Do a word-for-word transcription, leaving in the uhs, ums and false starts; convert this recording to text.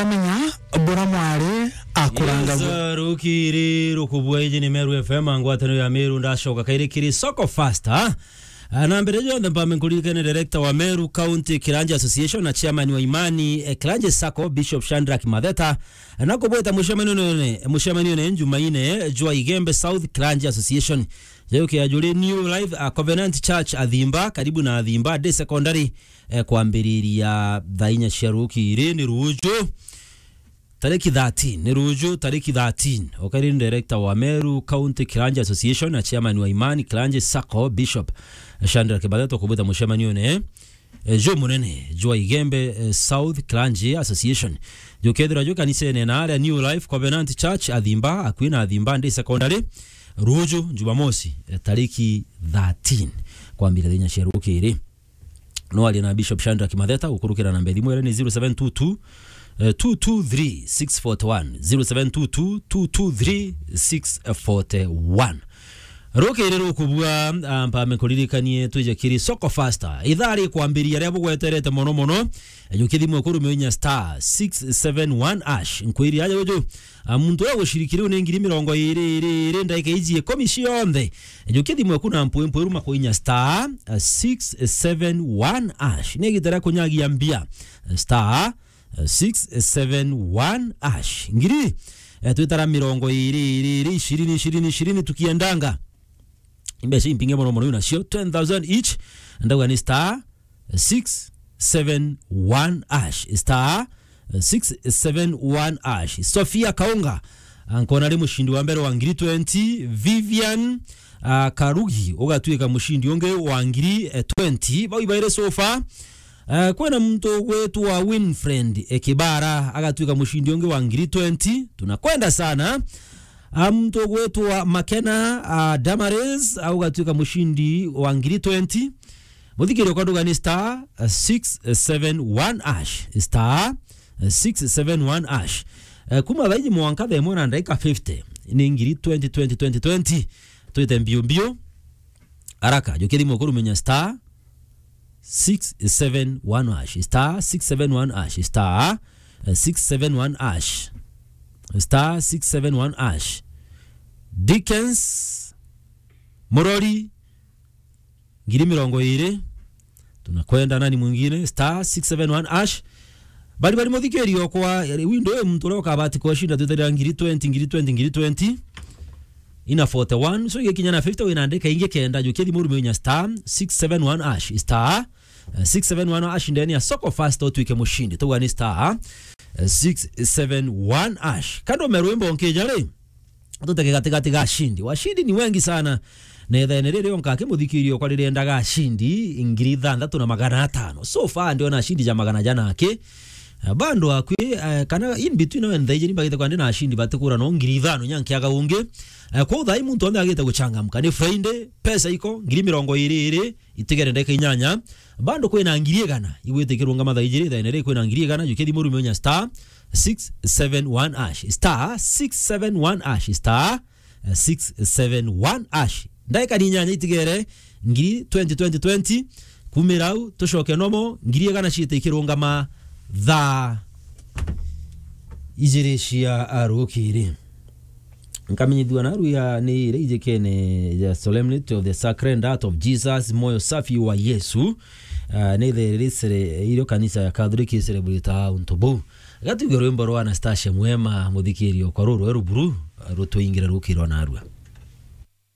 Amenya bura mwari akuranga. Yes, rukiri rukubua iji ni Meru F M, ngwataniro ya Meru, ndacoka kairi kiri Soko Faster. Ah, na mbere jonthe mpambe nkuririkane director wa Meru County Kiranja Association na chairman wa Imani, eh, Kiranja Sacco, Bishop Shadrack Matheta, na kubweta mucemanio nene, mucemanio ne Jumaine, jwa Igembe South Kiranja Association. Jeukia juri New Life, ah, Covenant Church Athimba, karibu na Athimba Day Secondary, eh, kwambiriria thaa inya cia rukiri ni ruju. Tariki thirteen, ni ruju, tariki thirteen. Okairi ni director wa Meru County Kiranja Association na chairman wa Imani Kiranja Sacco, Bishop Shadrack Matheta, kubwita mucemanio ne, eh, jo munene jwa Igembe, eh, South Kiranja Association. Jukethirwa jo kanisene na aria New Life Covenant Church Athimba, akui na Athimba Day Secondary, ruju, Jumamosi, eh, tariki thirteen, kwambira thaa inya cia rukiri. No aria na Bishop Shadrack Matheta, gukurukira namba ya thimu iria ni zero seven two two, eh, two two three six forty one, zero seven two two, two two three six forty one. Rukiri rukubua, ah, mpambe nkuririkanie twije kiri Soko Faster. Ithaa rikwambiria ria bugweterete mono mono, eh, jukia thimu eku rume inya star six seven one hash. Nkwiri aja uju, ah, muntu uria guciriki riu ni ngiri mirongo iri, iri, iri, ndagika iji ikumi cionthe. Jukia thimu eku na mpwi mpwi ruma kuinya star, ah, six seven one hash. Ni igita ria kunyagia mbia. Star, ah, six seven one hash. Ngiri, eh, twitara mirongo iri, iri, iri, ishirini, ishirini, ishirini tukiendanga. Imbeca impinge mono mono nacio, ten thousand each. Ndauga ni star six seven one hash. Star six seven one hash. Sofia Kaunga, ah, nkona ari mushindi wa mbere wa ngiri twenty. Vivian, ah, Karugi, ugatuika mushindi ungi wa ngiri, eh, twenty. Bau ibaire so far. Eh, kwina muntu ugwitwa Winfriend, eh, Kibara, agatuika mushindi ungi wa ngiri twenty. Tunakwenda sana. Ah, muntu ugwitwa Makena, ah, Damaris, ah, ugatuika mushindi wa ngiri twenty. Muthikiri okwa nduga ni star, ah, six seven one hash. Star, ah, six seven one hash. Eh, kuma thaa iji mwanka thaa imwe na ndagika fifty. Ni ngiri twenty, twenty, twenty, twenty. Twite mbio mbio. Haraka, jukia thimu eku rumenya star six seven one hash, star six seven one hash, star, eh, six seven one hash, star six seven one hash. Dickens Murori, ngiri mirongo iri. Tunakwenda nani mwingine? Star six seven one hash. Bari bari muthikiri okwa, window e muntu uria ukabati kwashinda twitharira ngiri twenty, ngiri twenty, ngiri twenty. Ina forty one, so igikinya na fifty wina ndeka ingi kenda, jukia thimu rume inya star six seven one hash, star, eh, six seven one hash ndeni ya Soko Faster utuike mushindi. Tugwa ni star, eh, six seven one hash. Kando me rwimbo nkija ri, tuteke gatigati ga ashindi. Washindi ni wengi sana. Na ithene riri onka kimuthikirio kwa ririendaga ashindi ngiri ithanthatu na magana atano. So far ndiona ashindi ja magana jana aki. Eh, bado akwi, eh, kana in between, no nthaiji ni bagite kwandi na ashindi batikura no ngiri ithano nyankiaga ungi. Eh, kwa uthai muntu onthe agite guchangamka. Ni Friday, pesa iko, ngiri mirongo iri iri, itigere ndeka inyanya. Bado kwina ngiri igana, igwite ikirungama thaa ijiri, thaa ine ri kwina ngiri igana, jukia thimu rume unya star six seven one hash, star six seven one hash, star six seven one hash. Ndaika ni inyanya itigere, ngiri twenty, twenty, twenty, kumira au, tucoke nomo, ngiri igana ciite ikirungama thaa ijiri cia, ah, rukiri. Nkamenyithua naru ya ni iria ijikene ya Solemnity of the Sacred Heart of Jesus, moyo safi wa Yesu. Ah, ni the ricere irio kanisa ya Catholic icelebrate untu buu. Gatuge rwimbo rwa Anastasia Mwema, muthikirio kwa ruru rweru buru, rutuingire rukirwa narua.